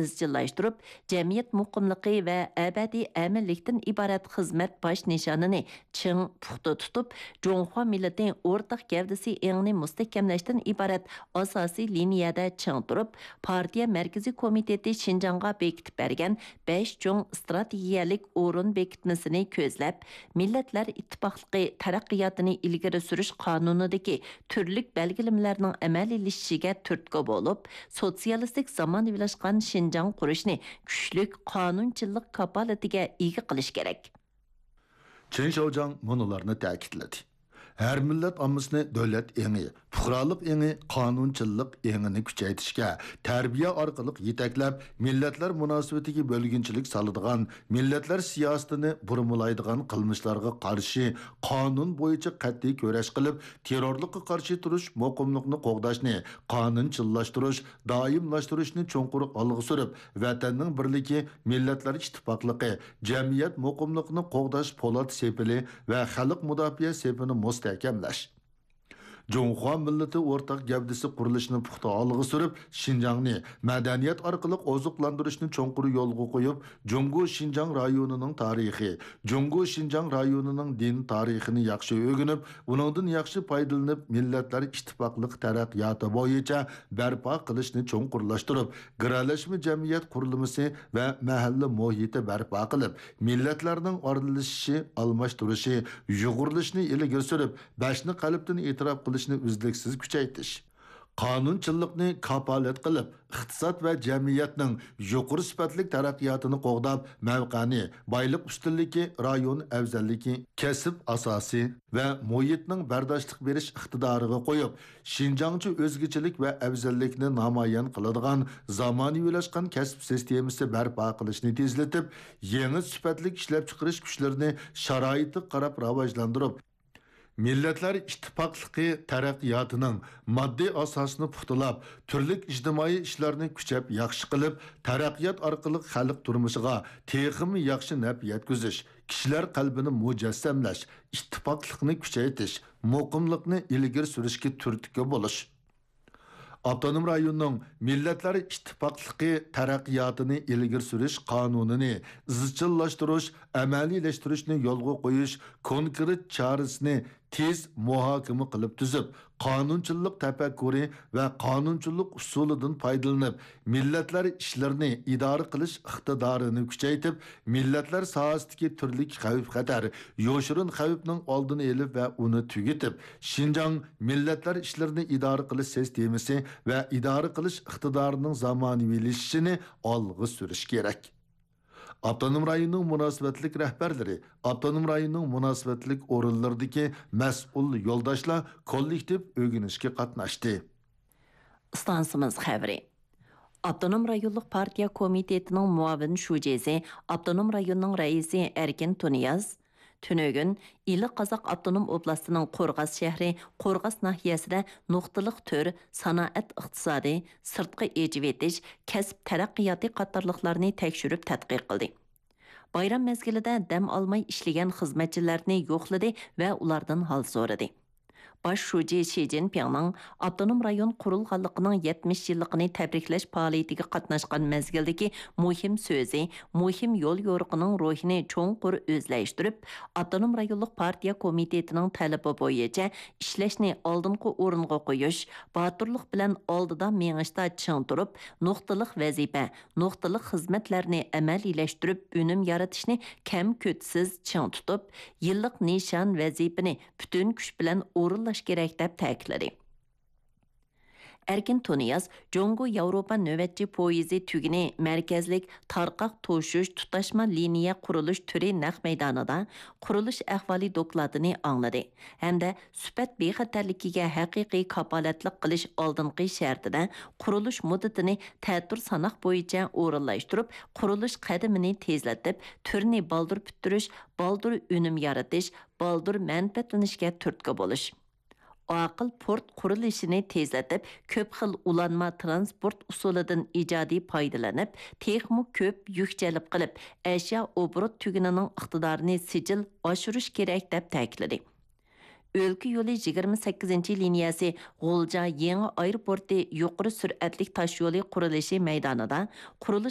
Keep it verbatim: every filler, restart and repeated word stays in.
ئىزچىللاشتۇرۇپ، جەمئىيەت مۇقىملىقى ۋە ئەبەدىي ئەمىنلىكتىن ئىبارەت خىزمەت باش نىشانىنى چىڭ پۇختا تۇتۇپ، جۇڭخۇا مىللىتى ئورتاق گەۋدىسى ئېڭىنى مۇستەھكەملەشتىن ئىبارەت ئاساسىي لىنىيەدە چىڭ تۇرۇپ، پارتىيە مەركىزىي كومىتېتى شىنجاڭغا بېكىتىپ بەرگەن بەش چوڭ ئىستراتېگىيەلىك ئورۇن بېكىتمىسىنى كۆزلەپ، مىللەتلەر ئىتتىپاقلىقى تەرەققىياتىنى ئىلگىرى سۈرۈش قانۇنىدىكى تۈرلۈك بەلگىلىمىلەرنىڭ ئەمەلىيلىشىشىگە تۈرتكە بولۇپ، سوتسىيالىستىك زامانىۋىلاشقان شىنجاڭ قۇرۇشنى كۈچلۈك قانۇنچىللىق كاپالىتىگە ئىگە قىلىش كېرەك. چېن شياۋجياڭ مۇنۇلارنى تەكىتلىدى: ھەر مىللەت ئاممىسىنى دۆلەت ئېڭى، پۇقرالىق ئېڭى، قانۇنچىللىق ئېڭىنى كۈچەيتىشكە، تەربىيە ئارقىلىق يېتەكلەپ، مىللەتلەر مۇناسىۋىتىگە بۆلگۈنچىلىك سالىدىغان، مىللەتلەر سىياسىتىنى بۇرمىلايدىغان قىلمىشلارغا قارشى قانۇن بويىچە قەتئىي كۈرەش قىلىپ، تېررورلۇققا قارشى تۇرۇش، مۇقىملىقنى قوغداشنى قانۇنچىللاشتۇرۇش، دائىملاشتۇرۇشنى چوڭقۇر ئالغا سۈرۈپ، ۋەتەننىڭ بىرلىكى، مىللەتلەر ئىتتىپاقلىقى، جەمئىيەت مۇقىملىقىنى قوغداش پولات سېپىلى ۋە خەلق مۇداپىئە سېپىنى مۇستەھكەملەش. جۇڭخۇا مىللىتى ئورتاق گەۋدىسى قۇرۇلۇشىنى پۇختا ئالغا سۈرۈپ، شىنجاڭنى مەدەنىيەت ئارقىلىق ئوزۇقلاندۇرۇشنى چوڭقۇر يولغا قويۇپ، جۇڭگو شىنجاڭ رايونىنىڭ تارىخى، جۇڭگو شىنجاڭ رايونىنىڭ دىن تارىخىنى ياخشى ئۆگىنىپ، ئۇنىڭدىن ياخشى پايدىلىنىپ، مىللەتلەر ئىتتىپاقلىق تەرەققىياتى بويىچە بەرپا قىلىشنى چوڭقۇرلاشتۇرۇپ، گىرەلەشمە جەمئىيەت قۇرۇلمىسى ۋە مەھەللە مۇھىتى بەرپا قىلىپ، مىللەتلەرنىڭ ئارىلىشىشى، ئالماشتۇرۇشى، يۇغۇرۇلۇشىنى ئىلگىرى سۈرۈپ، بەشنى قەلبتىن ئېتىراپ قىلىشنى ئۈزلۈكسىز كۈچەيتىش. قانۇنچىللىقنى كاپالەت قىلىپ، ئىقتىساد ۋە جەمئىيەتنىڭ يۇقىرى سۈپەتلىك تەرەققىياتىنى قوغداپ، مەۋقەنى، بايلىق ئۈستۈنلۈكى، رايون ئەۋزەللىكى، كەسىپ ئاساسى ۋە مۇھىتنىڭ بەرداشلىق بېرىش ئىقتىدارىغا قويۇپ، شىنجاڭچە ئۆزگىچىلىك ۋە ئەۋزەللىكنى نامايان قىلىدىغان زامانىۋىلاشقان كەسىپ سىستېمىسى بەرپا قىلىشنى تېزلىتىپ، يېڭى سۈپەتلىك ئىشلەپچىقىرىش كۈچلىرىنى شارائىتقا قاراپ راۋاجلاندۇرۇپ، مىللەتلەر ئىتتىپاقلىقى تەرەققىياتىنىڭ ماددىي ئاساسىنى پۇختىلاپ، تۈرلۈك ئىجتىمائىي ئىشلارنى كۈچەپ ياخشى قىلىپ، تەرەققىيات ئارقىلىق خەلق تۇرمۇشىغا تېخىمۇ ياخشى نەپ يەتكۈزۈش، كىشىلەر قەلبىنى مۇجەسسەملەش، ئىتتىپاقلىقنى كۈچەيتىش، مۇقىملىقنى ئىلگىرى سۈرۈشكە تۈرتكە بولۇش. ئاپتونوم رايوننىڭ مىللەتلەر ئىتتىپاقلىقى تەرەققىياتىنى ئىلگىرى سۈرۈش قانۇنىنى ئىزچىللاشتۇرۇش، ئەمەلىيلەشتۈرۈشنى يولغا قويۇش كونكرېت چارىسىنى تېز مۇھاكىمە قىلىپ تۈزۈپ، قانۇنچىللىق تەپەككۇرى ۋە قانۇنچىللىق ئۇسۇلىدىن پايدىلىنىپ، مىللەتلەر ئىشلىرىنى ئىدارە قىلىش ئىقتىدارىنى كۈچەيتىپ، مىللەتلەر ساھەسىدىكى تۈرلۈك خەۋپ-خەتەر، يوشۇرۇن خەۋپنىڭ ئالدىنى ئېلىپ ۋە ئۇنى تۈگىتىپ، شىنجاڭ مىللەتلەر ئىشلىرىنى ئىدارە قىلىش سىستېمىسى ۋە ئىدارە قىلىش ئىقتىدارىنىڭ زامانىۋىلىشىشىنى ئالغا سۈرۈش كېرەك. ئاپتونوم رايوننىڭ مۇناسىۋەتلىك رەھبەرلىرى، ئاپتونوم رايوننىڭ مۇناسىۋەتلىك ئورۇنلىرىدىكى مەسئۇل يولداشلار كوللېكتىپ ئۆگىنىشكە قاتناشتى. ئىستانسىمىز خەۋىرى. ئاپتونوم رايونلۇق پارتىيە كومىتېتىنىڭ مۇئاۋىن شۇجىسى، ئاپتونوم رايوننىڭ رەئىسى ئەركىن تۇنىياز تۈنۈگۈن ئىلى قازاق ئاپتونوم ئوبلاستىنىڭ قورغاس شەھىرى قورغاس ناھىيەسىدە نۇقتىلىق تۈر سانائەت ئىقتىسادى، سىرتقا ئېچىۋېتىش، كەسىپ تەرەققىياتى قاتارلىقلارنى تەكشۈرۈپ تەتقىق قىلدى. بايرام مەزگىلىدە دەم ئالماي ئىشلىگەن خىزمەتچىلەرنى يوقلىدى ۋە ئۇلاردىن ھال سورىدى. باش شۇجى شى جىنپىڭنىڭ ئاپتونوم رايون قۇرۇلغانلىقىنىڭ يەتمىش يىللىقىنى تەبرىكلەش پائالىيىتىگە قاتناشقان مەزگىلدىكى مۇھىم سۆزى، مۇھىم يول يورۇقىنىڭ روھىنى چوڭقۇر ئۆزلەشتۈرۈپ، ئاپتونوم رايونلۇق پارتىيە كومىتېتىنىڭ تەلىپى بويىچە ئىشلەشنى ئالدىنقى ئورۇنغا قويۇش، باتۇرلۇق بىلەن ئالدىدا مېڭىشتا چىڭ تۇرۇپ، نۇقتىلىق ۋەزىپە، نۇقتىلىق خىزمەتلەرنى ئەمەلىيلەشتۈرۈپ، ئۈنۈم يارىتىشنى كەم-كۆتسىز چىڭ تۇتۇپ، يىللىق نىشان ۋەزىپىنى پۈتۈن كۈچ بىلەن ئورۇنلاش كېرەك، دەپ تەكىتلىدى. ئەركىن تۇنىياز جۇڭگو ياۋروپا نۆۋەتچى پويىزى تۈگۈنى مەركەزلىك تارقاق توشۇش تۇتاشما لىنىيە قۇرۇلۇش تۈرى نەق مەيدانىدا قۇرۇلۇش ئەھۋالى دوكلاتىنى ئاڭلىدى ھەمدە سۈپەت بىخەتەرلىكىگە ھەقىقىي كاپالەتلىك قىلىش ئالدىنقى شەرتىدە قۇرۇلۇش مۇددىتىنى تەتۈر ساناق بويىچە ئورۇنلاشتۇرۇپ، قۇرۇلۇش قەدىمىنى تېزلىتىپ، تۈرنى بالدۇر پۈتتۈرۈش، بالدۇر ئۈنۈم يارىتىش، بالدۇر مەنپەئەتلىنىشكە تۈرتكە بولۇش. ئاقىل پورت قۇرۇلۇشىنى تېزلىتىپ، كۆپ خىل ئۇلانما تىرانسپورت ئۇسۇلىدىن ئىجادىي پايدىلىنىپ، تېخىمۇ كۆپ يۈك جەلپ قىلىپ، ئەشيا ئوبوروت تۈگۈنىنىڭ ئىقتىدارىنى سىجىل ئاشۇرۇش كېرەك، دەپ تەكىتلىدى. ئۆلكە يولى يىگىرمە سەككىزىنچى لىنىيەسى غۇلجا يېڭى ئايروپورتى يۇقىرى سۈرئەتلىك تاشيولى قۇرۇلۇشى مەيدانىدا قۇرۇلۇش